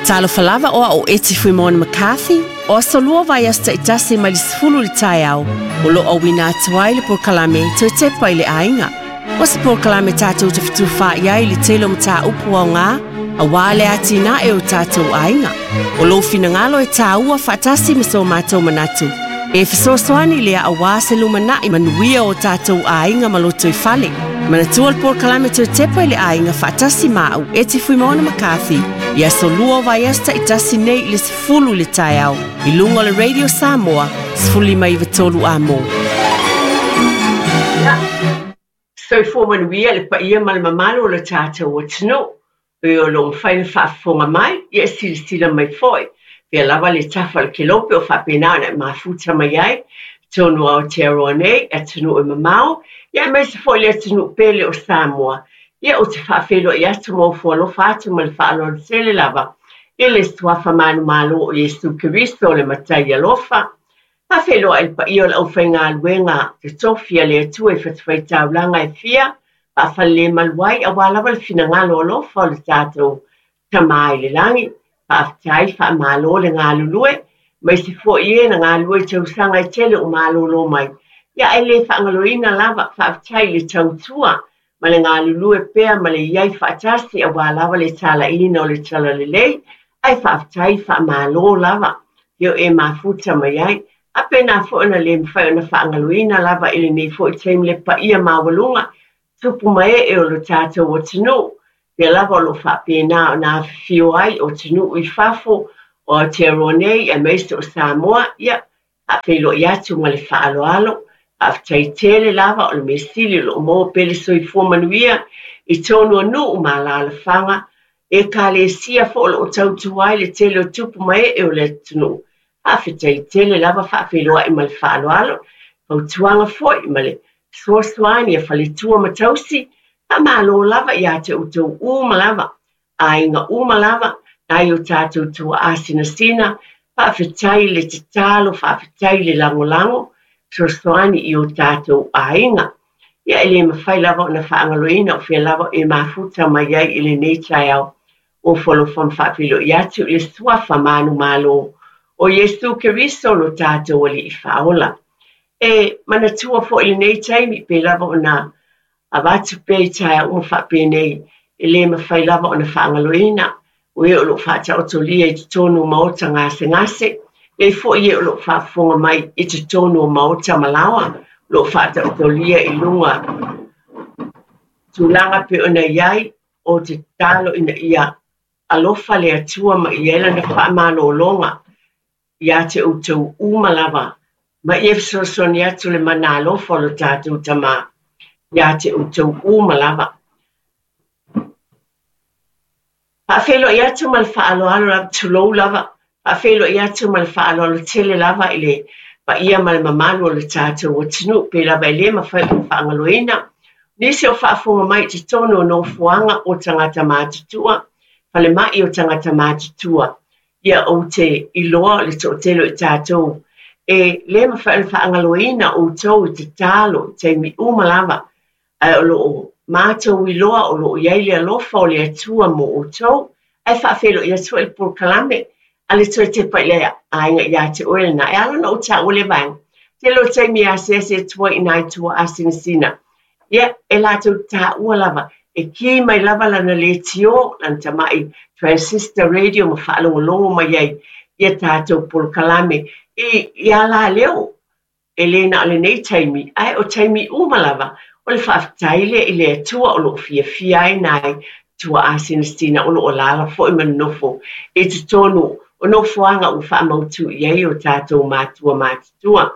Talofa lava o au o Eti Fuimaono McCarthy, o aso lua vaiaso taitasi mai le 10 i le taeao, o lo o auina atu ai le polokalame Toe Tepa i le Aiga. O se polokalame tatou te fetufaai ai i le tele o mataupu aoga, aua le atinae o tatou aiga. O lou finagalo e tāua faatasi ma so matou manatu, e fesoasoani lea aua se lumanai manuia o tatou aiga ma lotoifale. Manatua le polokalame Toe Tepa i le Aiga faatasi ma au, Eti Fuimaono McCarthy, i aso lua o vaiaso taitasi nei i le 10 i le taeao, i luga o le Radio Samoa 1593 AM. Soifua manuia le paia ma le mamalu o le tatou atunuu. E o lo o mafai ona faafofoga mai, ia e silasila mai foi. Pea lava le tafa o le kelope o faapena ona e mafuta mai ai i totonu o Aotearoa nei, atunuu e mamao, ia aemaise foi le atunuu pele o Samoa. Ia ou te faafeiloai atu ma ofo alofa atu ma le faaaloalo tele lava i le Suafa manumalo o Iesu Keriso le Matai alofa. Faafeiloai le paia o le aufaigaluega totofi a le Atua i fatafaitaulaga e fia faafalelemalu ai aua lava le finagalo alofa o le tatou Tama i le Lagi. Faafetai, faamalo le galulue, aemaise foi e na galulue i tausaga e tele o malolo mai. Ia ae le faagaloina lava, faafetai i le tautua ma le galulue pea ma le i ai faatasi aua lava le talaiina o le talalelei, ae faafetai faamalo lava io e mafuta mai ai. A pēnā foi ona le mafai ona faagaloina lava i lenei foi taimi le paia maualuga, tupu ma ee o lo tatou atunuu, pea lava o lo o faapena ona afifio ai o atunuu i fafo o Aotearoa nei aemaise o Samoa, ia, Faafeiloai atu ma le faaaloalo, faafetai tele lava o le mea sili o lo o maua pea le soifua manuia i tonu o nuu ma alaalafaga, ekalesia foi o lo o tautua ai le tele o tupu ma ee o le atunuu. Faafetai tele lava, faafeiloai ma le faaaloalo, fautuaga foi ma le fesoasoani a faletua ma tausi, faamalo lava ia te outou uma lava. aiga uma lava, nai o tatou tuaa sinasina, faafetai le tatalo, faafetai le lagolago, fesoasoani i o tatou aiga. Ia e le mafai lava ona faagaloina o fea lava e mafuta mai ai i lenei taeao. Ofo alofa ma faafeiloai atu i le Suafa manumalo o Iesu Keriso lo tatou Alii Faaola. E manatua foi i lenei taimi pei lava ona avatu pea i taeao uma faapenei, e le mafai lava ona faagaloina o e o lo o faataotolia i totonu o maota gasegase, e i ai foi e o lo o faafofoga mai i totonu o maota ma laoa, o lo o faataotolia i luga tulaga pei ona i ai, o te tatalo ina ia alofa le Atua ma i ai lana faamalologa ia te outou uma lava, ma ia fesoasoani atu le mana alofa o lo tatou Tama ia te outou uma lava. Faafeiloai atu ma le faaaloalo lava, tulou lava, faafeiloai atu ma le faaaloalo tele lava i le paia ma le mamalu o le tatou atunuu, pei lava e le mafai ona faagaloina nisi o faafofoga mai i totonu o nofoaga o tagata matutua, falemai o tagata matutua. Ia ou te iloa o le toatele o i tatou e le mafai ona faagaloina outou i tatalo i taimi uma lava, ae o lo o matou iloa o lo o i ai le alofa o le Atua mo outou, ae faafeiloai atu foi le polokalame a le Toe Tepa i le Aiga ia te oe lena. E ala ona ou taua lea vaega, tele o taimi e asiasi atu ai i nai tuaa sinasina, Ia, e latou taua lava, e kī mai lava lana leitio, lana tamai transistor radio ma faalogologo mai ai ia tatou polokalame i i alaleo, e le na o lenei taimi, ae o taimi uma lava, o le faafetai lea i le Atua o lo o fiafia ai nai tuaa sinasina o lo o alaala foi ma nonofo i totonu o nofoaga ua faamautu i ai o tatou matua matutua.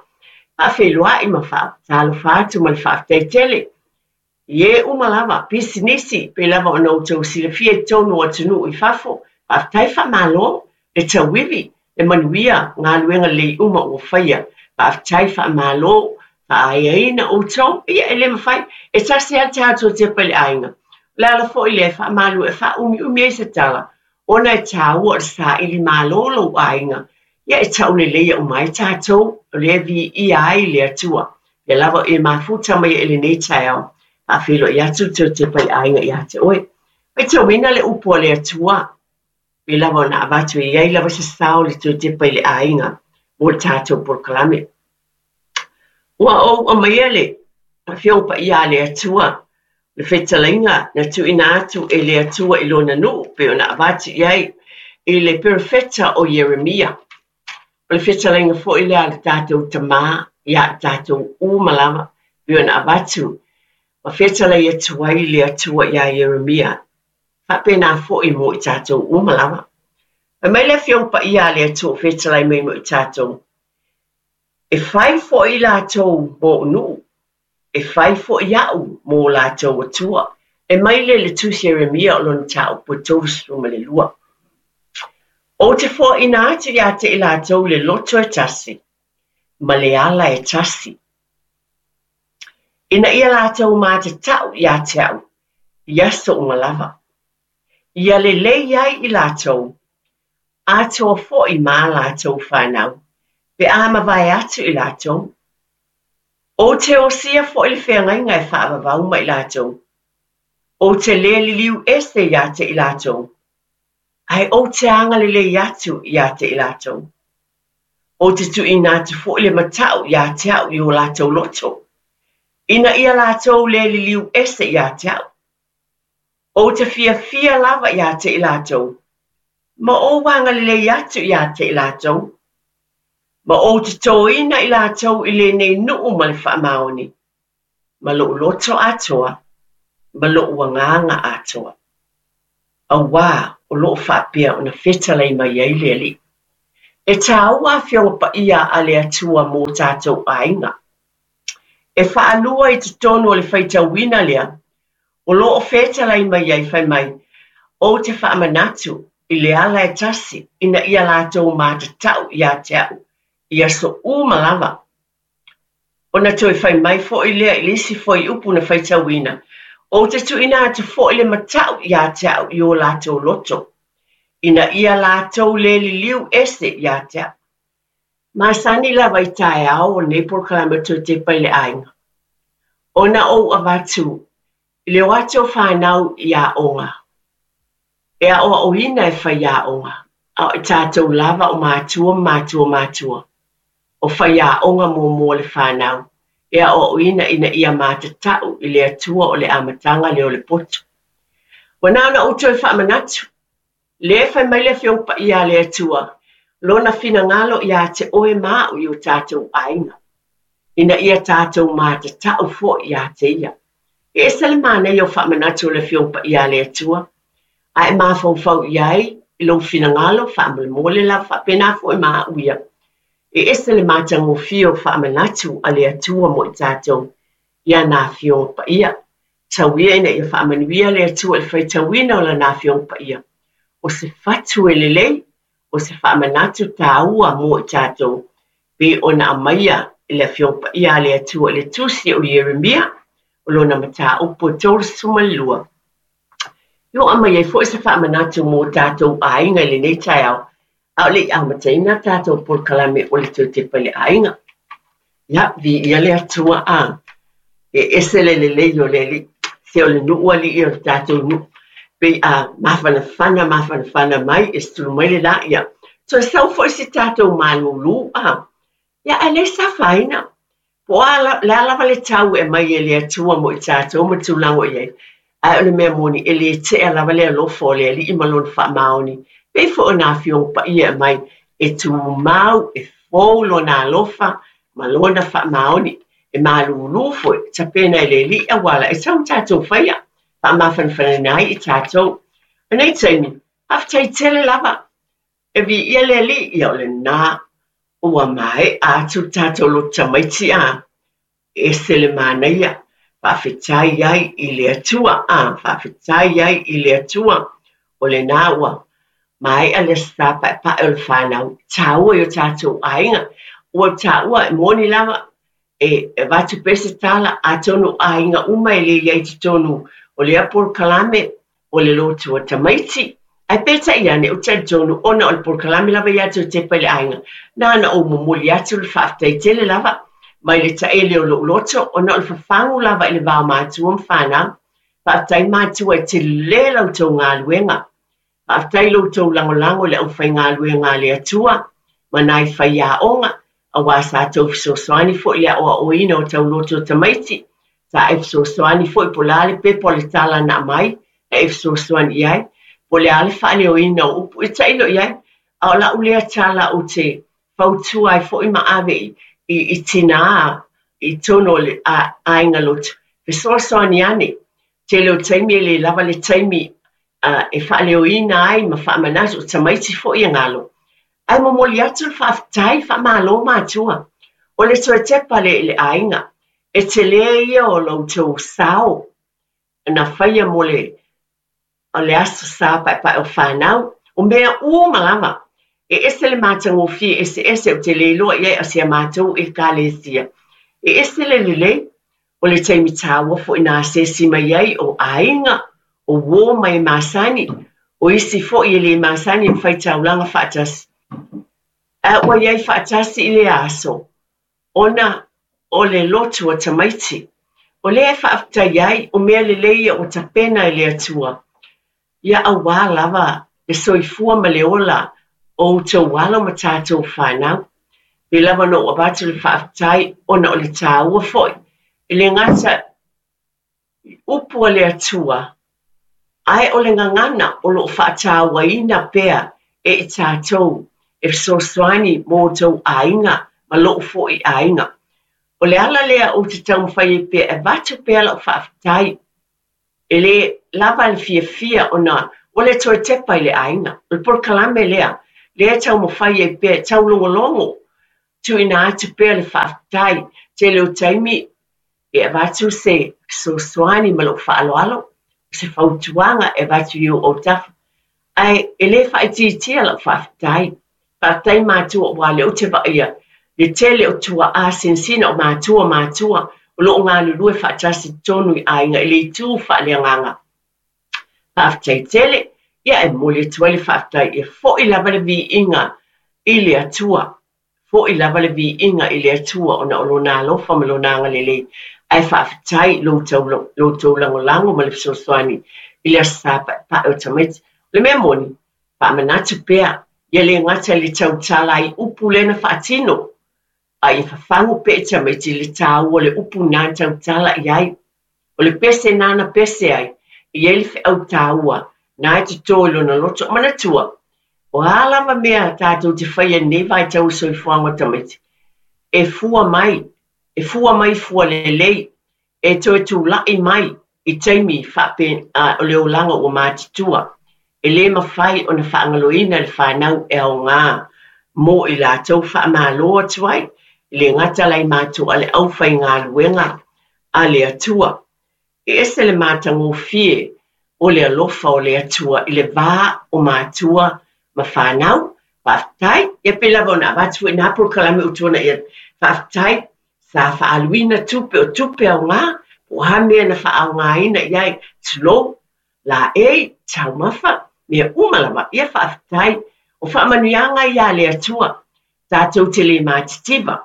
Faafeiloai ma faatalofa atu ma le faafetai tele i e uma lava, pisinisi, pei lava ona outou silafia i totonu o atunuu i fafo, faafetai faamalo le tauivi, le manuia, galuega lelei uma ua faia, faafetai faamalo, faaeaina outou, ia e le mafai, e tasi lava le tatou tepa i le aiga. O le ala foi lea e faamalu e faaumiumi ai se tala, ona e taua o le saili malo lou aiga, ia e tauleleia uma ai tatou, o lea e viia ai le Atua. Pea lava e mafuta mai i lenei taeao, faafeiloai atu le Toe Tepa i le Aiga ia te oe. Faitauina le upu a le Atua. Pei lava ona avatu e i ai lava se sao o le Toe Tepa i le Aiga mo le tatou polokalame. Ua ou aumaia le Afioga Paia a le Atua, le fetalaiga na tuuina atu e le Atua i Lona nuu pei ona avatu i ai i le perofeta o Ieremia. O le fetalaiga foi lea a le tatou Tama ia i tatou uma lava pei ona avatu ma fetalai atu ai le Atua iā Ieremia, faapena foi mo i tatou uma lava. Fai mai le Afioga Paia a le Atua o fetalai mai mo i tatou, E fai foi latou mōʻu nuu, e fai foi aʻu mō latou Atua. E mai lea i le Tusi a Ieremia o lona mataupu e 32. Ou te foaina atu iā te i latou le loto e tasi, ma le ala e tasi, ina ia latou matatau iā te aʻu i aso uma lava, ia lelei ai i latou, atoa foi ma a latou fanau, pe a mavae atu i latou. Ou te osia foi le feagaiga e faavavau ma i latou. Ou te le liliu ese iā te i latou, ae ou te agalelei atu iā te i latou. Ou te tuuina atu foi le mataʻu iā te aʻu i o latou loto, ina ia latou le liliu ese iā te aʻu. Ou te fiafia lava iā te i latou, ma ou agalelei atu iā te i latou, ma ou totoina i latou i lenei nuu ma le faamaoni, ma loʻu loto atoa, ma loʻu agaga atoa. Auā o lo o faapea ona fetalai mai ai le Alii. E tāua Afioga Paia a le Atua mō tātou aiga. E faalua i totonu o le faitauina lea, o lo o fetalai mai ai fai mai, Ou te faamanatu i le ala e tasi ina ia latou matatau iā te aʻu i aso uma lava. Ona toe fai mai foi lea i le isi fuaiupu na faitauina, Ou te tuuina atu foi le mataʻu iā te aʻu i o latou loto, ina ia latou le liliu ese iā te aʻu. Masani lava i taeao o lenei polokalame o Toe Tepa i le Aiga, ona ou avatu i le o atu o fanau i aoga, e aʻoaʻoina e faiaoga, a o i tatou lava o matua ma matua o matua, o faiaoga muamua o le fanau, e aʻoaʻoina ina ia matatau i le Atua o le amataga lea o le poto. Ua na ona ou toe faamanatu, Lea e fai mai le Afioga Paia a le Atua, Lona finagalo iā te oe ma aʻu i o tātou aiga, ina ia tātou matatau foi iā te Ia. E ese le manaia o faamanatu o le Afioga Paia a le Atua, a e mafaufau i ai i lou finagalo faamolemole lava faapena foi ma aʻu ia. E ese le matagofie o faamanatu a le Atua mo i tātou i ana Afioga Paia. Tau ia ina ia faamanuia le Atua i le faitauina o Lana Afioga Paia. O se fatu e lelei, o se faamanatu tāua mo i tātou, pei ona aumaia e le Afioga Paia a le Atua i le Tusi o Ieremia, o lona mataupu e 32. I o aumai ai foi se faamanatu mo tātou aiga i lenei taeao, a o le i amataina tātou polokalame o le Toe Tepa i le Aiga. Ia, viia le Atua a e ese le lelei o le Alii, se o le nuu alii o le tātou nuu. Pei a mafanafana, mafanafana mai, e sulu mai le la, ia, toe sau foi si tātou malūlū a. Ia, ae leai se afaina. Po o a le a lava le tau e aumai e le Atua mo i tatou ma tulaga o i ai, ae o le mea moni, e le tea lava le alofa o le Alii ma Lona faamaoni, pei foi o nā Afioga Paia e aumai, e tumau, e fou Lona alofa ma Lona faamaoni, e malūlū foi, tapena e le Alii auala e tau tatou faia, faamafanafanaina ai i tatou. O nei taimi, faafetai tele lava E viia le Alii, ia o lena ua maea atu le tatou loto tamaiti a ese le manaia, faafetai ai i le Atua a, faafetai ai i le Atua, o lena ua maea le Aso Sa Paepae o le fanau, tāua i o tatou aiga, ua taua e moni lava e avatu pea se tala, atonu o aiga uma e le i ai i totonu o lea polokalame o le lotu a tamaiti, ae peitai ane ou te talitonu ona o le polokalame lava ia Toe Tepa i le Aiga, na ona ou momoli atu le faafetai tele lava mai le taele o lou loto ona o le fafagu lava i le va o matua ma fanau. Faafetai matua e tele la outou galuega. Faafetai lo outou lagolago i le aufaigaluega a le Atua ma nai faiaoga, aua sa tou fesoasoani foi i le aoaoina o tauloto o tamaiti, sa e fesoasoani foi po o le a le pepa o le tala na aumai, na e fesoasoani i ai, po o le a le faaleoina o upu, e tailo i ai. A o lau lea tala ou te fautua ai foi ma ave i tinā i totonu o le aiga lotu, fesoasoani ane. Tele o taimi e le lava le taimi e faaleoina ai ma faamanatu, o tamaiti foi e galo. Ae momoli atu le faafetai, faamalo matua. O le toe tepa lea i le aiga, e tele ia o lo outou sao na faia mo le Aso Sa Paepae o Fanau. O mea uma lava, e ese le matagofie eseese ou te le iloa i ai a si a matou Ekalesia. E ese le lelei, o le taimi tāua foi na asiasi mai ai o aiga, o uo ma e masani, o isi foi e le masani ma faitaulaga faatasi. Ae ua i ai faatasi i lea aso, ona o le lotu a tamaiti. O lea e faafetai ai, o mea lelei ia ua tapena e le Atua, ia auā lava le soifua ma le ola o outou alo ma tatou fanau. Pei lava ona ou avatu le faafetai ona o le tāua foi, e le gata i upu a le Atua, ae o le gagana o lo o faatauaina pea e i tatou e fesoasoani mo outou aiga ma lou foi aiga. O le ala lea ou te taumafai ai pea e avatu pea lau faafetai. E le lava le fiafia ona o le toe tepa i le aiga. O le polokalame lea, lea e taumafai ai pea e taulogologo, tuuina atu pea le faafetai. Tele o taimi e avatu se fesoasoani ma lou faaaloalo, o se fautuaga e avatu i ou autafa. Ae e le faaitiitia lau faafetai. Faafetai matua aua o lea ou te vaaia le tele o tuaa sinasina o matua matua o lo o galulue faatasi i totonu i aiga i le itu faaleagaga. Faafetai tele, ia e momoli atu ai le faafetai ia foi lava le viiga i le Atua. Foi lava le viiga i le Atua ona o Lona alofa ma Lona agalelei, ae faafetai i lo outou lagolago ma le fesoasoani i le Aso Sa Paepae o Tamaiti. O le mea moni, faamanatu pea, ia le gata i le tautala ai upu lea na faatino, a ia fafagu pea i tamaiti i le tāua o le upu na tautala i ai. O le pese na na pese ai, e i ai le feau taua na e toto i lona loto. Manatua, o a lava mea tātou te faia i lenei vaitau o soifuaga o tamaiti, e fua mai, e fua mai fua lelei, e toe tulai mai i taimi faapena o le olaga ua matutua. E le mafai ona faagaloina le fanau e aoga mo i latou faamalo atu ai, e le gata la i matou a le aufaigaluega a le Atua. E ese le matagofie o le alofa o le Atua i le va o matua ma fanau. Faafetai, ia pei lava ona avatu foi nā polokalame ua tuanai atu. Faafetai, sa faaaluina tupe o tupe aoga, po o a mea na faaaogaina i ai, tulou, laei, taumafa, mea uma lava. Ia faafetai, o faamanuiaga ia a le Atua, tatou te le matitiva,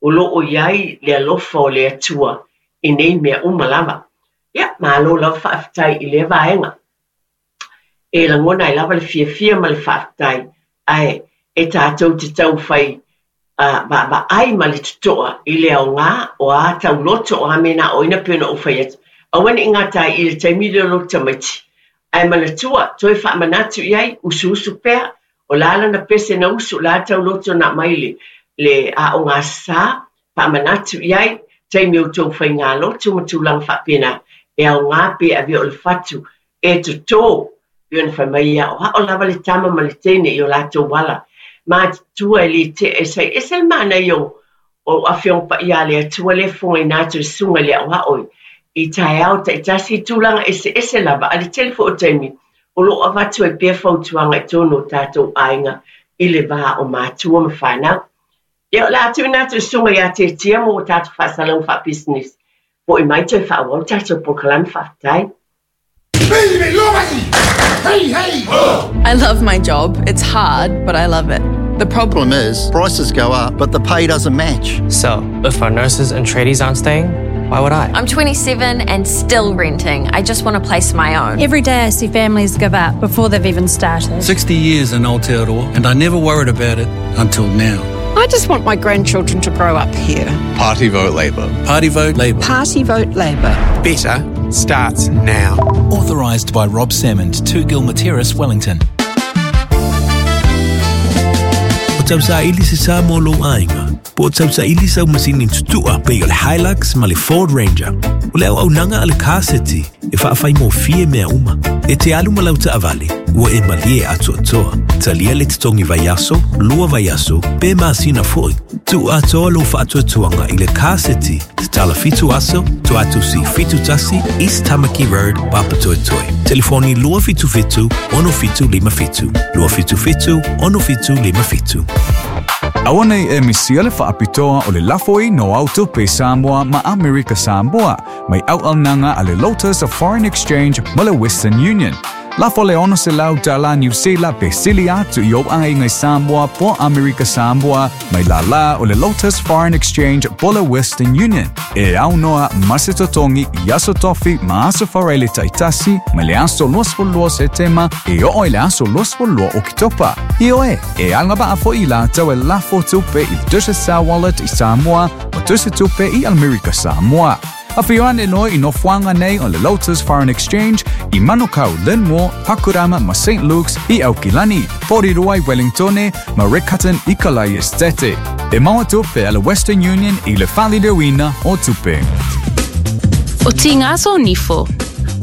o lo o i ai le alofa o le Atua i nei mea uma lava. Ia, malo lava faafetai i lea vaega. E lagona ai lava le fiafia ma le faafetai, ae e tatou te tau fai vaavaai ma le totoa i le aoga o a tauloto o a mea na aoaoina pei ona ou fai atu. Aua ne i gata ai i le taimi lea o lou tamaiti, ae manatua, toe faamanatu i ai, usuusu pea, o le a lana pese na usu, o le a tauloto na aumai le, le aoga sā, faamanatu i ai, taimi o outou faigalotu ma tulaga faapena, e aoga pe avea o le fatu e totō, pei ona fai mai e aoao lava le tama ma le teine i o latou ala. Matutua e le tea e sai ese le manaia o o Afioga Paia a le Atua lea e fofogaina atu e susuga i le aoao i taeao taitasi i tulaga eseese lava, a le tele foi o taimi o lo o avatu ai pea fautuaga i totonu o tatou aiga i le va o matua ma fanau. Ia, o le a tuuina atu i le susuga ia Tiatia mo tatou faasalalauga faapisinisi. Foi mai toe faaauau le tatou polokalame. Faafetai. I love my job. It's hard, but I love it. The problem is, prices go up, but the pay doesn't match. So, if our nurses and tradies aren't staying, Why would I? I'm 27 and still renting. I just want a place of my own. Every day I see families give up before they've even started. 60 years in Aotearoa, and I never worried about it until now. I just want my grandchildren to grow up here. Party vote Labour. Party vote Labour. Party vote Labour. Better starts now. Authorised by Rob Salmond, 2 Gilmer Terrace, Wellington. O tausaili se sa mo lou aiga. Po o tausaili sau masini tutua pei o le Hilux ma le Ford Ranger. O le auaunaga a le Car City e faafaigofie mea uma. E te alu ma lau taavale, ua e malie atoatoa. Talia le totogi vaiaso, lua vaiaso, pe masina foi. Tuu atoa lou faatuatuaga i le Car City, tatala 7 aso, Toatusi 71 East Tamaki Road, Papatoetoe. Telefoni 277 6757. 277 6757. Aua nei e misia le faapitoa o le lafo i no au tupe Samoa ma Amerika Samoa mai auaunaga a le Lotus of Foreign Exchange ma le Western Union. Lafo le 600 tala Niu Sila pe sili atu i ou aiga i Samoa po Amerika Samoa mai lālā o le Lotus Foreign Exchange po le Western Union. E aunoa ma se totogi i aso tofi ma aso faraile taitasi mai le aso 22 Setema e oo i le aso 22 Oketopa. Ioe, e agavaa foi i latou e lafo tupe i le Digicel Wallet i Samoa ma tusitupe i Amerika Samoa. Afio ane loa i nofoaga nei o le Lotus Foreign Exchange i Manukau, Linmore, Pakurama ma St Luke's i Aukilani, Porirua i Wellingtone ma Riccarton i Kalai Estate. E maua tupe a le Western Union i le faaliliuina o tupe. O Tigaso Nifo.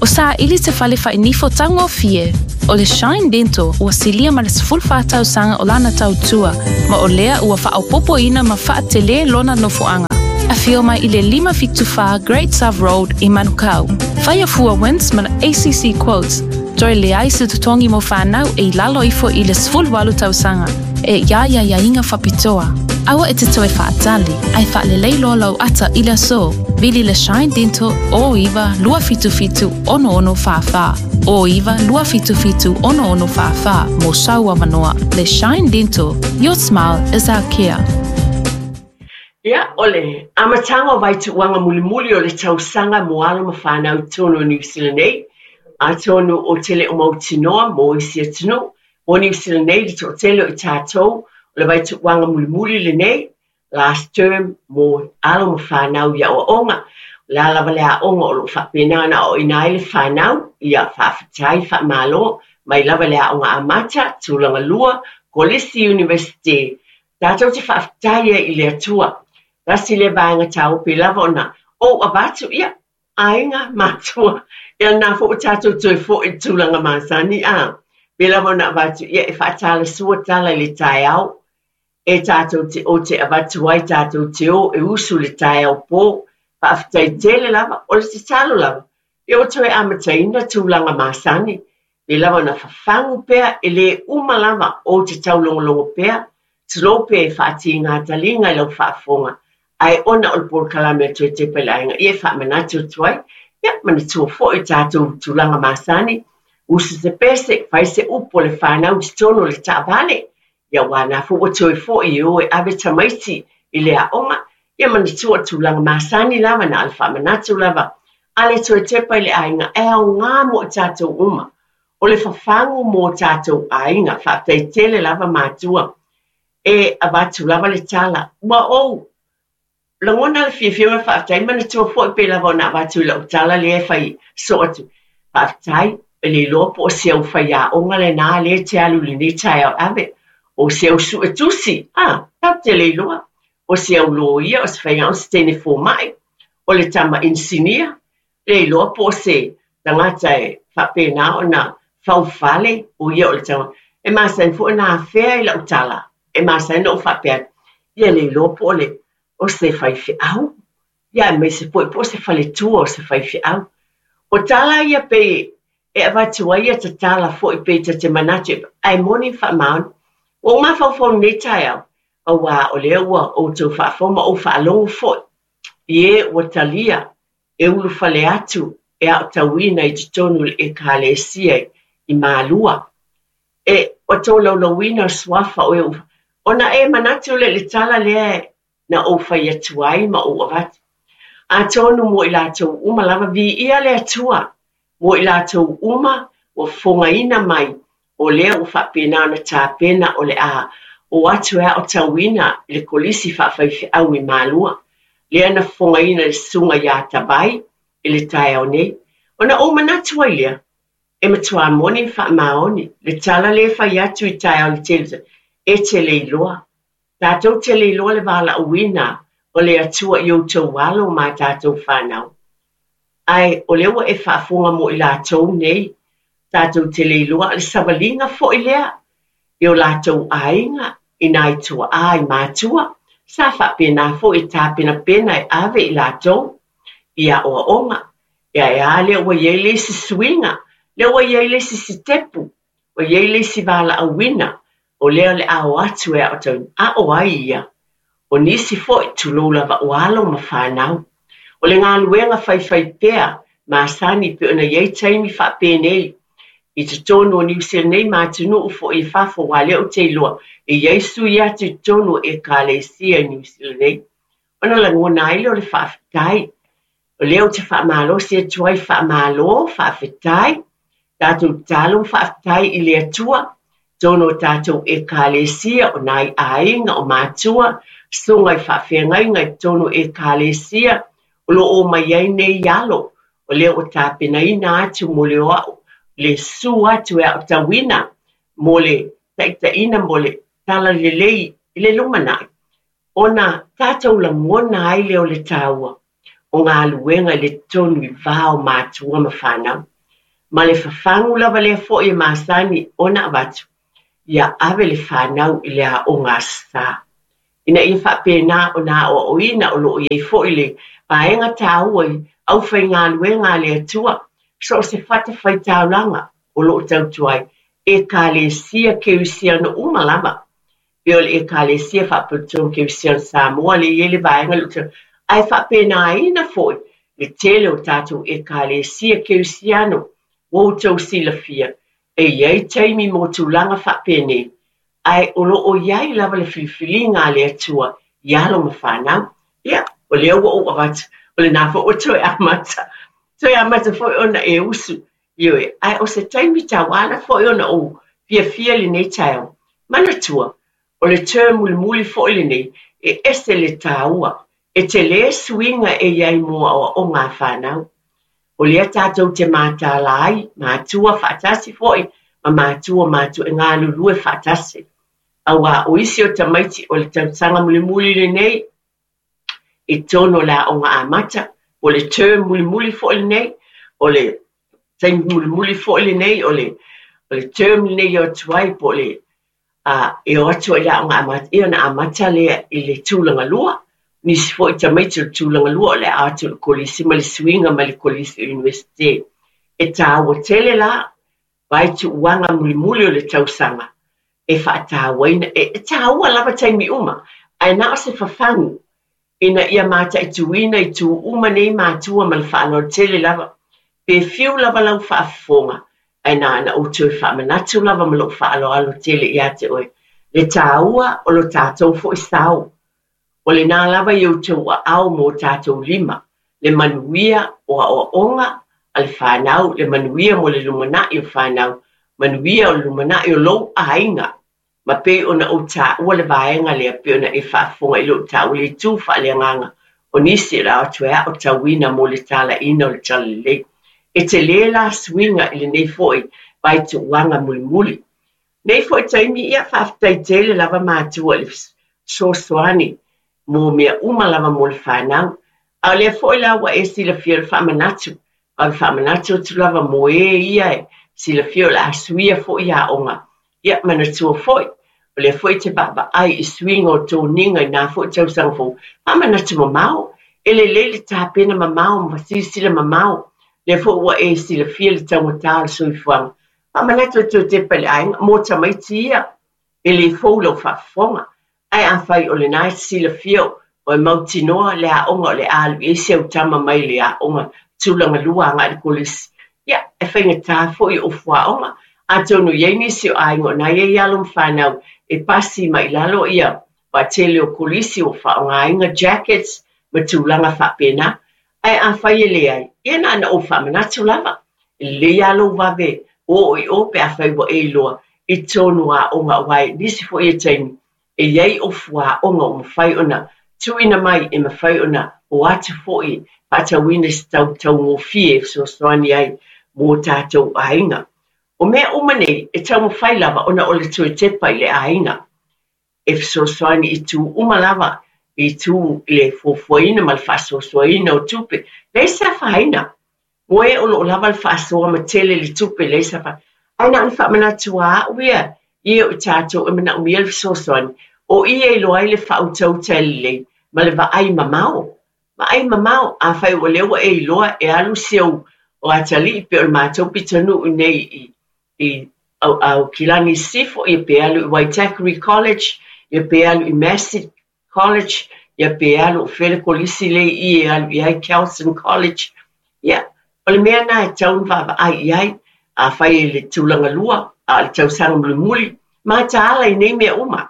O saili se fale fai-nifo taugofie. O le Shine Dental ua silia ma le 14 tausaga o lana tautua, ma o lea ua faaopoopoina ma faatelē lona nofoaga. Afio mai i le 574 Great South Road i Manukau. Faia fua WINZ ma le ACC Quotes, toe leai se totogi mo fanau e i lalo ifo i le 18 tausaga. E i a ia aiaiga faapitoa. Aua e te toe faatali, ae faalelei loa lou ata i le aso. Vili le Shine Dental 09 277 6644, 09 277 6644 mo sau avanoa. Le Shine Dental, your smile is our care. Ia, o le amataga o vaituuaga mulimuli o le tausaga mo alo ma fanau i totonu o Niu Sila nei, atonu ou te le o mautinoa mo isi atunuu, mo Niu Sila nei le toatele o i tatou, o le vaituuaga mulimuli lenei, last term, mo alo ma fanau i aoaoga. O le a lava le aoga o lo o faapena ona aoaoina ai le fanau, ia faafetai, faamalo, mai lava i le aoga amata, tulaga lua, kolisi, universite, tatou te faafetai ai i le Atua. Tasi lea vaega taua pei lava ona ou avatu, ia, aiga, matua, ia lena foi ua tatou toe foi i le tulaga masani, a, pei lava ona avatu, ia, e faatalasua tala i le taeao, e tatou te o te avatu ai tatou te o e usu i le taeao po, faafetai tele lava, o le tatalo lava, ia ua toe amataina tulaga masani, pei lava ona fafagu pea e le uma lava ou te taulogologo pea, tulou pea e faatiga taliga i lau faafofoga, ae ona o le polokalame a Toe Tepa i le Aiga, ia e faamanatu atu ai, ia manatua foi tatou tulaga masani, usu se pese, fai se upu a le fanau i totonu o le taavale, ia aua na foi ua toe foi e o e ave tamaiti i le aoga, ia manatua tulaga masani lava na o le faamanatu lava a le Toe Tepa i le Aiga, e aoga mo i tatou uma. O le fafagu mo tatou aiga, faafetai tele lava matua, e avatu lava le tala, ua ou lagona le fiafia ma le faafetai, manatua foi pei lava ona avatu i lau tala lea e fai soo atu, faafetai, e le iloa po o se au faiaoga lena lea e te alu i lenei taeao ave, o se au suetusi, a, tatou te le iloa, o se au loia, o se faiaoga, o se teine fomai, o le tama inisinia, le iloa po o se tagata e faapena ona faufale, o ia o le tagata. E masani foi ona afea i lau tala, e masani ona ou faapea atu, ia le iloa po o le o se faifeau, ia aemaise foi po o se faletua o se faifeau. O tala ia pei e avatu ai ia tatala foi pei ta te manatu ae moni ma faamaoni. Ua ou mafaufau i lenei taeao, auā o lea ua outou faafofoga ma ou faalogo foi i e ua talia e ulufale atu e aotauina i totonu o le Ekalesia i Malua. E ua tolaulauina o suafa o e ua ona e manatu lea i le tala lea na ou fai atu ai ma ou avatu. Atonu mo i latou uma lava, viia le Atua mo i latou uma ua fofogaina mai o lea ua faapena ona tapena o le a o atu e aotauina i le Kolisi Faafaifeau i Malua, lea na fofogaina e le Susuga ia Tavai i le taeao nei. Ona ou manatu ai lea, e matua moni ma faamaoni le tala lea e fai atu i taeao le tele, e te le iloa. Tatou te le iloa le valaauina o le Atua i outou alo ma a tatou fanau. Ae o lea ua e faafofoga mo i latou nei, tatou te le iloa le savaliga foi lea i o latou aiga, i nai tuaa, i matua, sa faapena foi e tapenapena e ave i latou i aoaoga. Ia e a lea ua i ai le isi suiga, lea ua i ai le isi sitepu, ua i ai le isi valaauina o lea o le a o atu e aotauina. A o ai ia? O nisi foi, tulou lava o alo ma fanau. O le galuega faifaipea masani pei ona i ai taimi faapenei i totonu o Niu Sila nei ma atunuu foi i fafo, aua lea ou te iloa e i ai sui atu i totonu o Ekalesia i Niu Sila nei. Ona lagona ai lea o le faafetai. O lea ou te faamalosi atu ai, faamalo, faafetai, tatou tatalo ma faafetai i le Atua, totonu o tatou Ekalesia, o nai aiga, o matua, susuga i faafeagaiga i totonu o Ekalesia, o lo o omai ai nei alo, o lea ua tapenaina atu mo le o a'u, le susu atu e aotauina mo le taitaiina mo le talalelei i le lumanai, ona tatou lagona ai lea o le taua o galuega i le totonu i va o matua ma fanau. Ma le fafagu lava lea foi e masani ona avatu, ia ave le fanau i le aoga Aso Sa. Ina ia faapena ona aoaoina o lo o i ai foi le vaega taua i aufaigaluega a le Atua, so o se fatafaitaulaga o lo o tautua ai, Ekalesia Kerisiano uma lava. Pei o le Ekalesia Faapotopotoga Kerisiano Samoa lea e i ai le vaega lea, ae faapenaina foi le tele o tatou Ekalesia Kerisiano ua outou silafia e i ai taimi mo tulaga faapenei, ae o lo o i ai lava le filifiliga a le Atua i alo ma fanau. Ia, o lea ua ou avatu, o lena foi ua toe amata, toe amata foi ona e usu. Ioe, ae o se taimi tauala foi ona ou fiafia i lenei taeao. Manatua, o le term mulimuli foi lenei, e ese le taua, e tele suiga e i ai mo aoaoga a fanau. O lea tatou te mataala ai, matua faatasi foi ma matua matua e galulue faatasi. Aua o isi o tamaiti o le tausaga mulimuli lenei, i totonu o le aoga amata, o le term mulimuli foi lenei, o le taimi mulimuli foi lenei, o le, o le term lenei e o atu ai, po o le, e o atu ai i le aoga amata, ia ona amata lea i le tulaga lua. Nisi foi tamaiti o le tulaga lua o le a o atu i le kolisi ma le suiga mai le kolisi i le Iunivesite. E taua tele la vaituuaga mulimuli o le tausaga e faatauaina, e taua lava taimi uma, ae na o se fafagu ina ia mataituina itu uma nei matua ma le faaaloalo tele lava. Pe fiu lava lau faafofoga, ae na ona ou toe faamanatu lava ma lou faaaloalo tele ia te oe, le taua o lo tatou foi sao. O lena lava i outou aao ma o tatou lima, le manuia o aoaoga a le fanau, le manuia mo le lumanai o fanau, manuia o le lumanai o lou aiga. Ma pei ona ou taua le vaega lea, pei ona e faafofoga i lou taua i le itu faaleagaga o nisi o le a o atu e aotauina mo le talaiina o le talalelei. E tele la suiga i lenei foi vaituuaga mulimuli. Nei foi taimi, ia faafetai tele lava matua i le fesoasoani mo mea uma lava mo le fanau. A o lea foi la ua e silafia o le faamanatu, a o le faamanatu atu lava mo e ia e silafia o le a suia foi aoga. Ia manatua foi, o lea foi e te vaavaai i suiga o toniga i na foi tausaga fou, faamanatu mamao, e lelei le tapena mamao ma silasila mamao. Lea foi ua e silafia le taugata o le soifuaga. Faamanatu atu e tepa i le aiga, mo tamaiti ia, e le fou lau faafofoga. Ae afai o lena e te silafia o e mautinoa le aoga o le a alu i ai si au tama mai le aoga tulaga lua agai i le kolisi, ia, e faigata foi o fuaoga. Atonu e i ai nisi o aiga o na i ai alo ma fanau e pasi mai i lalo ia vaatele o kolisi ua faaaogaina jackets ma tulaga faapena. Ae afai e leai, ia na ona ou faamanatu lava, e lelei lava lou vave oo i o pe afai ua e iloa i totonu o aoga aua i nisi foi o taimi e i ai ofu aoga ua mafai ona tuuina mai e mafai ona o atu foi e faatauina i se tau taugofie e fesoasoani ai mo tatou aiga. O mea uma nei e taumafai lava ona o le toe tepa i le aiga e fesoasoani i itu uma lava, i itu i le fuafuaina ma le faasoasoaina o tupe. Leai se afaina. Mo e o lo o lava le faasoa ma tele le tupe, leai se afaina. Ae na ona faamanatu lava au ia i e o tatou e manaomia le fesoasoani, o i e iloa ai le faautauta lelei ma le vaai mamao. Vaai mamao, afai o lea ua e iloa e alu si ou o atalii pei o le matou pitonuu nei i Aukilani Sisifo, ia pe alu i Waitakere College, ia pe alu i Massey College, ia pe alu o fea le kolisi lea i i e alu i ai Kelson College. Ia, o le mea lena e tatau ona vaavaai i ai, afai e le tulaga lua, a o le tausaga mulimuli, mataala i nei mea uma.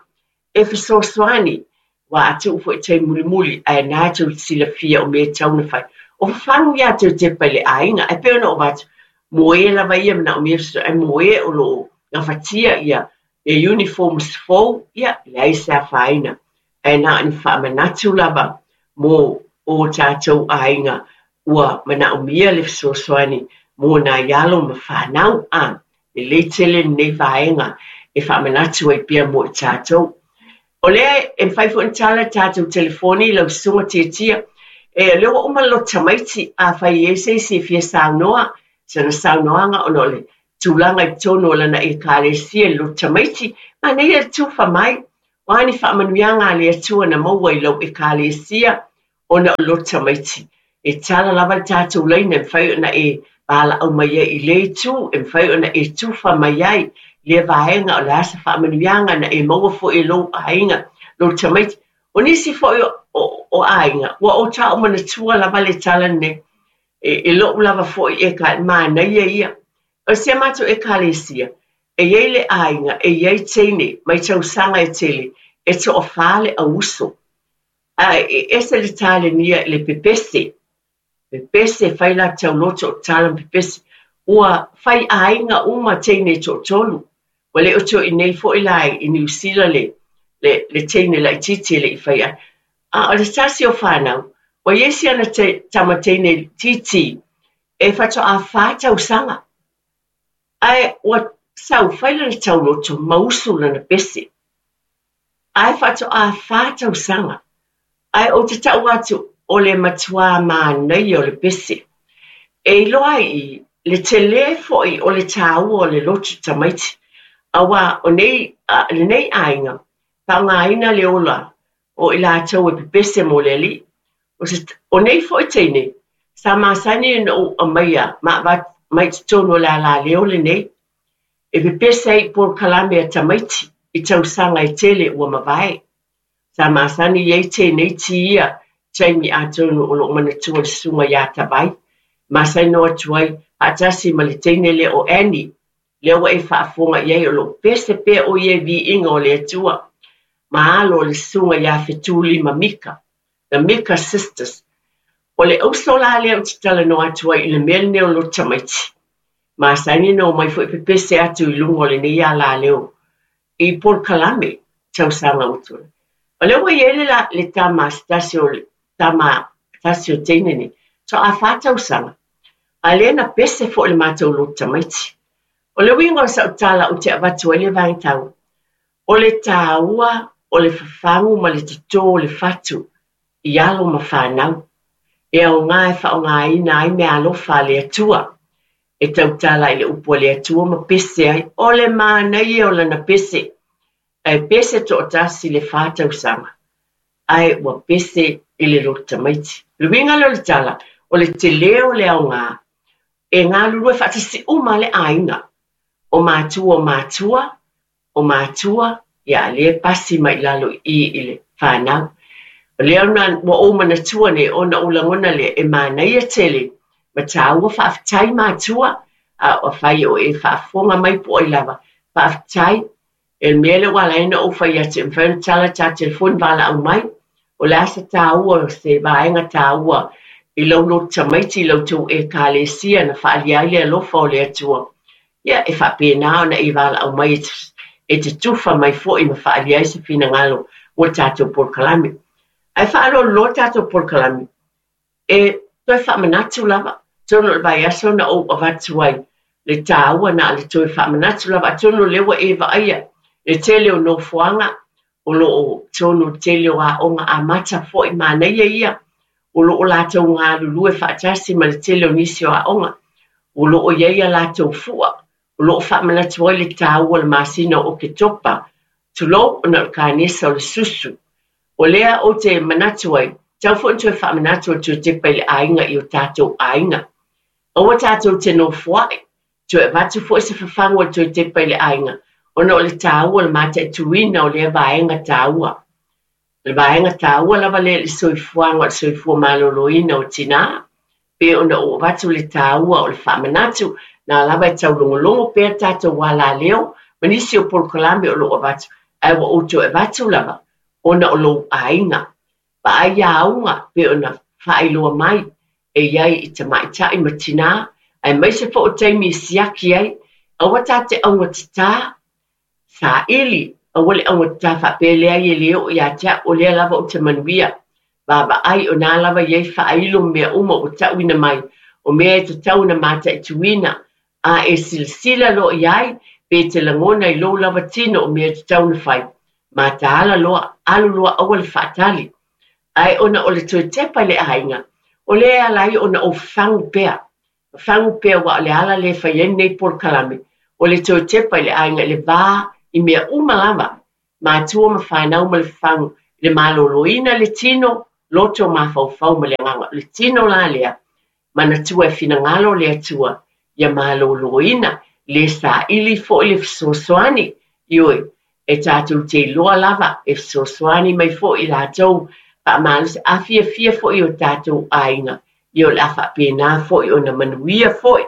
E fesoasoani, aua a tuu foi i taimi mulimuli, ae na tou te silafia o mea e tatau ona fai. O fafagu ia toe tepa i le aiga, ae pei ona ou avatu, mo e lava ia e manaomia fesoasoani, ae mo e o lo o gafatia ia uniforms fou, ia, e leai se afaina. Ae na o ni faamanatu lava mo o tatou aiga ua manaomia le fesoasoani mo nai alo ma fanau. A, lelei tele lenei vaega e faamanatu ai pea mo i tatou. O lea e mafai foi ona tala le tatou telefoni i lau susuga Tiatia. E, o lea ua uma le loto tamaiti, afai e i ai se isi e fia saunoa, sana saunoaga ona o le tulaga i totonu o lana Ekalesia i le loto tamaiti, manaia le tufa mai. O a ni faamanuiaga a le Atua na maua i lau Ekalesia ona o le loto tamaiti. E tala lava le tatou laina e mafai ona e valaau mai ai i lea itu, e mafai ona e tufa mai ai i lea vaega o le a se faamanuiaga na e maua foi e lou aiga, lou tamaiti. O nisi foi o aiga, ua ou tau manatua lava le tala lenei. E lou lava foi e ka manaia ia. O si a matou Ekalesia, e i ai le aiga, e i ai teine mai tausaga e tele, e toafa le auuso. Ae e ese le talenia i le pepese. Pepese, fai la tauloto o tala ma pepese. Ua fai aiga uma teine e toatolu. Ua le o toe i nei foi la i Niu Sila le teine laitiiti e le i fai ai. A o le tasi o fanau, ua i ai si ana tama teine titi e faatoa 4 tausaga. Ae ua sau fai lana tauloto ma usu lana pese. Ae faatoa 4 tausaga. Ae ou te tau atu o le matua manaia o le pese. E iloa ai i le tele foi o le tāua o le loto tamaiti. Aua o nei, lenei aiga, faaaogaina le ola o i latou e pepese mo le alii. O nei foi teine, sa masani ona ou aumaia ma avatu mai totonu o le alaleo lenei. E pepese ai i polokalame a tamaiti i tausaga e tele ua mavae. Sa masani i ai tēnei ti ia taimi atonu o loo manatua le susuga iā Tavai. Masani no atu ai faatasi ma le teine lea o Annie. Lea ua e faafofoga i ai o loo pese pea o ia i viiga o le Atua. Ma alo o le susuga iā Fetuli ma Mika. The Mika Sisters. O le auso la lea ou te talanoa atu ai i le mea lenei o loto tamaiti. Masani na omai foi pepese atu i luga o lenei alaleo i polokalame tausaga ua tuanai. O lea ua i ai le tama se tasi o le tama tasi o teine nei, toa 4 tausaga, a lea na pese foi le matou loto tamaiti. O le uiga o sau tala ou te avatu ai le vaega taua, o le tāua o le fafagu ma le totō o le fatu i alo ma fanau. E aoga e faaaogaina ai mea alofa a le Atua. E tautala i le upu a le Atua ma pese ai. O le manaia o lana pese. Ae pese toatasi le 4 tausaga. Ae ua pese i le loto tamaiti. O le uiga lea o le tala, o le tele o le aoga, e galulue faatasi uma le aiga. O matua o matua, o matua, ia le pasi mai lalo i i le whanau. O lea ona ua ou manatua nei ona ou lagona lea e manaia tele ma tāua faafetai matua, a o whai o e faafofoga mai po ai lava. Faafetai, e le mea lea ua ala ai ona ou fai atu e mafai ona tala ta telefoni valaau mai. O le a se tāua, se vaega tāua I lau lotu tamaiti i la outou Ekalesia na faaalia ai le alofa o le Atua, ia, e faapena ona e valaau mai e te tufa mai foi ma faaalia ai se finagalo mo le tatou polokalame. Ae faaaloalo loa tatou polokalame, e toe faamanatu lava, atonu o le vaiaso na ou avatu ai le taua na o le toe faamanatu lava, atonu o lea ua e vaaia le tele o nofoaga o lo o tonu le tele o aoga amata foi manaia ia o lo o latou galulue faatasi ma le tele o nisi o aoga o lo o i ai a latou fua o lo o faamanatu ai le taua o le masina o Oketopa, tulou, ona o le kanesa o le susu. O lea ou te manatu ai, tatau foi ona toe faamanatu o le toe tepa i le aiga i o tatou aiga. Aua tatou te nofoai, toe avatu foi se fafagu o le toe tepa i le aiga, ona o le taua o le mataituina o lea vaega taua. O le vaega taua lava lea i le soifuaga o le soifua maloloina o tinā, pei ona ou avatu le taua o le faamanatu, na lava e taulogologo pea tatou alaleo ma nisi o polokalame o lo o avatu, ae ua ou toe avatu lava ona o lou aiga. Vaai auga pei ona faailoa mai e i ai i tamaitai ma tinā, aemaise foi o taimi e siaki ai, aua ta te augatatā, saili, aua le augatatā faapea e leai e le oo ia te au, o lea lava ou te manuia. Vaavaai o na lava i ai faailo ma mea uma ua tauina mai, o mea e tatau ona mataituina, a e silasila loa i ai, pe te lagona i lou lava tino o mea e tatau ona fai, mataala loa, alu loa aua le faatali. Ae ona o le toe tepa i le aiga, o lea e ala ai ona ou fafagu pea. Fafagu pea aua o le ala lea e fai ai lenei polokalame, o le toe tepa i le aiga i le va i mea uma lava, matua ma fanau ma le fafagu, i le maloloina le tino, loto mafaufau ma le agaga. O le tino la lea, manatua e finagalo le Atua ia maloloina, le saili foi le fesoasoani, ioe, e tatou te iloa lava e fesoasoani mai foi i latou faamalosi, a fiafia foi o tatou aiga, ia o le a faapena foi ona manuia foi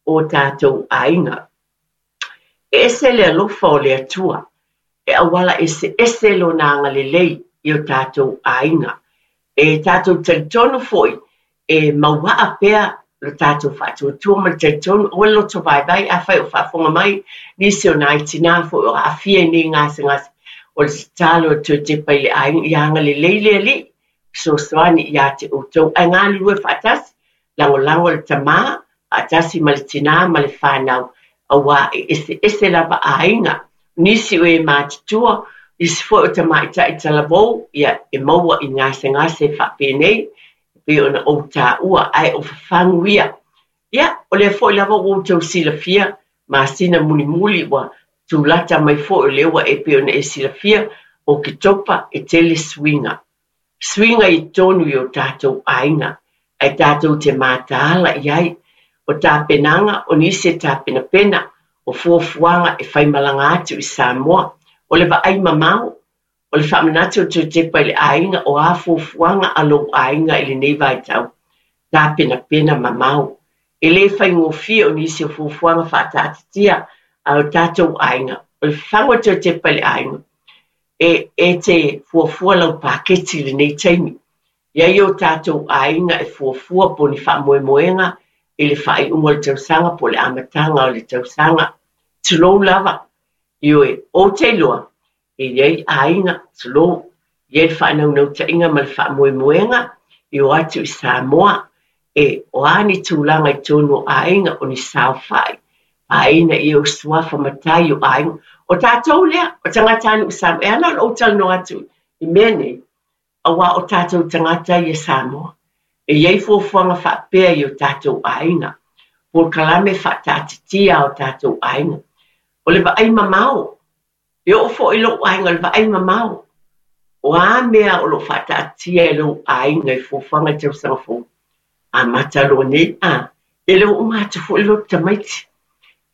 o tatou aiga. E ese le alofa o le Atua, e auala eseese Lona agalelei i o tatou aiga. E tatou talitonu foi e mauaa pea lo tatou faatuatua ma le talitonu, aua le loto vaivai, afai o faafofoga mai nisi o nai tinā foi o aafia i nei gasegase, o le tatalo e toe tepa i le aiga, ia agalelei le Alii, fesoasoani ia te outou, ae galulue faatasi, lagolago le tamā faatasi ma le tinā ma le fanau, auā e eseese lava aiga, nisi o e matutua, nisi foi o tamaitai talavou, ia e maua i gasegase faapenei, e pei ona ou taua, ae o fafagu ia. Ia, o lea foi lava ua outou silafia, masina mulimuli ua tulata mai foi o lea ua e pei ona e silafia, o Oketopa e tele suiga. Suiga i totonu i o tatou aiga, ae tatou te mataala i ai. O tapenaga, o nisi e tapenapena, o fuafuaga e faimalaga atu i Samoa. O le vaai mamao, o le faamanatu o toe tepa i le aiga, o a fuafuaga a lou aiga i lenei vaitau. Tapenapena mamao. E le faigofie o nisi o fuafuaga faataatitia a o tatou aiga. O le fafagu o toe tepa i le aiga, e, e te fuafua lau paketi i lenei taimi. I ai o tatou aiga e fuafua po o ni faamoemoega i le faaiuga o le tausaga po o le amataga o le tausaga. Tulou lava. Ioe, ou te iloa, e i ai aiga, tulou, e i ai le faanaunautaiga ma le faamoemoega e o atu i Samoa, e, o a ni tulaga i totonu o aiga, o ni saofai, Āina ia o suafa matai o aiga. O tatou lea, o tagatanuu Samoa. E ala ona ou talanoa atu i mea nei, auā o tatou tagata ia Samoa. E i ai fuafuaga faapea i o tatou aiga. Polokalame faataatitia a o tatou aiga. O le vaai mamao, E oo foi i lou aiga, o le vaai mamao, o a mea o lo o faataatia e lou aiga i fuafuaga i le tausaga fou, amata loa nei, a, e le o uma atu foi le loto tamaiti.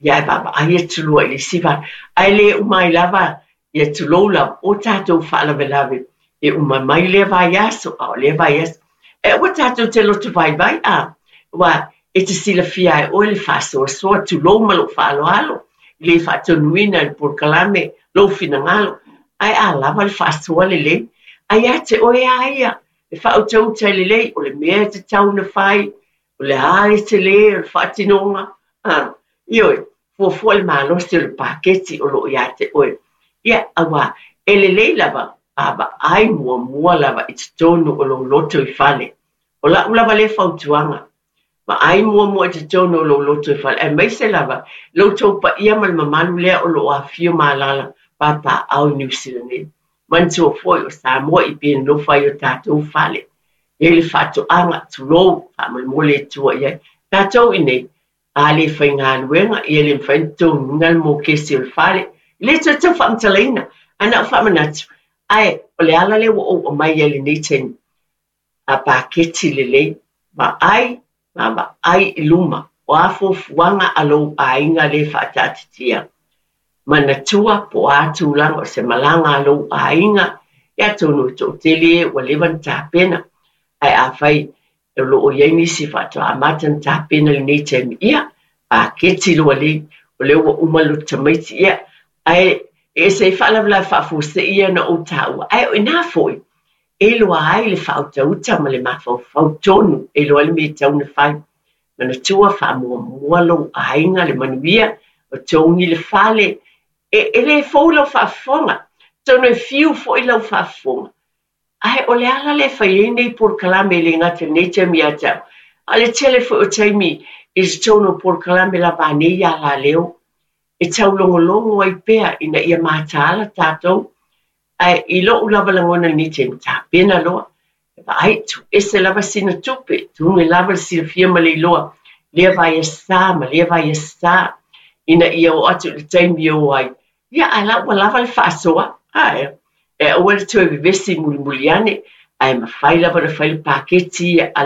Ia ae vaavaai atu loa i le isi vaega. Ae le uma ai lava, ia tulou lava, o tatou faalavelave, e uma mai lea vaiaso, a o lea vaiaso. Ae aua tatou te loto vaivai, a, aua e te silafia e oe le faasoasoa, tulou ma lou faaaloalo, i le faatonuina e le polokalame lou finagalo, ae a lava le faasoa lelei, a ia te oe lava ia E faautauta lelei o le mea e tatau ona fai, o le a le telē o le faatinoga, ioe, fuafua i le malosi o le paketi o lo o ia te oe. Ia, auā, e lelei lava a vaai muamua lava i totonu o lou loto i fale. O la'u lava lea fautuaga, vaai muamua i totonu o lou loto i fale, aemaise lava lo outou paia ma le mamalu lea o lo o afifio ma alaala papaaao i Niu Sila nei. Manatua foi o Samoa i pei e nonofo ai i o tatou fale. E i ai le faatoaga, tulou, faamolemole e tua i ai. Tatou i inei, a le faigaluega, ia le mafai ona totogiina le mokesi o le fale. E le toe tau faamatalaina, ae na o faamanatu, ae o le ala lea ua ou aumai ai i lenei taimi, a paketi lelei, vaai ma vaai i luma, o a fuafuaga a lou aiga lea e faataatitia. Manatua po o a tulaga o se malaga a lou aiga, ia atonu e toatele e ua leva ona tapena, ae afai o lo o i ai nisi faatoa amata ona tapena i lenei taimi, ia, paketi loa lei, o lea ua uma le tamaiti, ia, ae e ese ai faalavelave faafuasei ia na ou taua, ae o i ina foi e iloa ai le faautauta ma le mafaufau tonu, e iloa ai le mea e tatau ona fai. Manatua faamuamua lou aiga, le manuia, o togi le fale, e le fou lau faafofoga, atonu e fiu foi lau faafofoga. Ae o le ala lea e fai ai nei polokalame e le gata i lenei taimi ia te au, a o le tele foi o taimi i totonu o polokalame lava a nei alaleo, e taulogologo ai pea ina ia mataala tatou. Ae i lou lava lagona i lenei taimi, tapena loa, e vaai, tuu ese lava sina tupe, tuga lava le silafia ma le iloa, lea vaiaso ma lea vaiaso, ina ia oo atu i le taimi e o ai, ia ae la ua lava le faasoa, ae e aua le toe vevesi mulimuli ane, ae mafai lava ona fai le paketi ia.